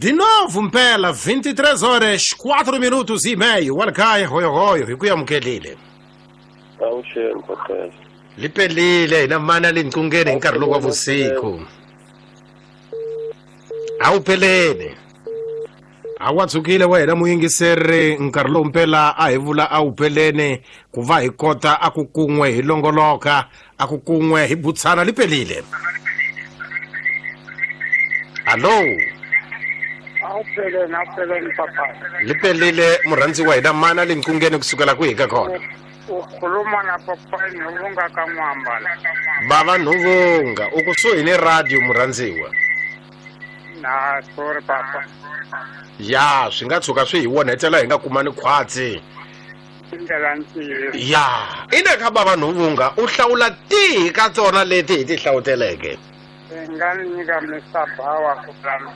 De novo mpela 23 horas 4 minutos e meio wa le kaya hoyohoyo hi ku amukelile. Avuxeni papela. Li pelile hina mana le nqungeni hi nkarhi lowu wa vusiku. A wu peleni. A wa tshukile wena muyingiseri nkarhi lowu mpela a hi vula a wu peleni ku va hi kota a ku kun'we hi longoloka a ku kun'we hi butshana li pelile. Hallo. Awupheleni, awupheleni papa. Li pelile murhandziwa hina mana le nqungeni kusukela kwihi ka kona. Ukhuluma na papa Nhuvunga ka N'wamba la. Bava Nhuvunga u kusuhi ni radio murhandziwa. Na sorry papa. Ya swi nga tshuka swi hi onhetela hi nga kumani khwatsi. Tindlela ntiyiso. Ya ina ka bava Nhuvunga u hlawula tihi ka tona leti hi ti hlawuteleke. I nga ni nyika Mr. Bawa ku plan.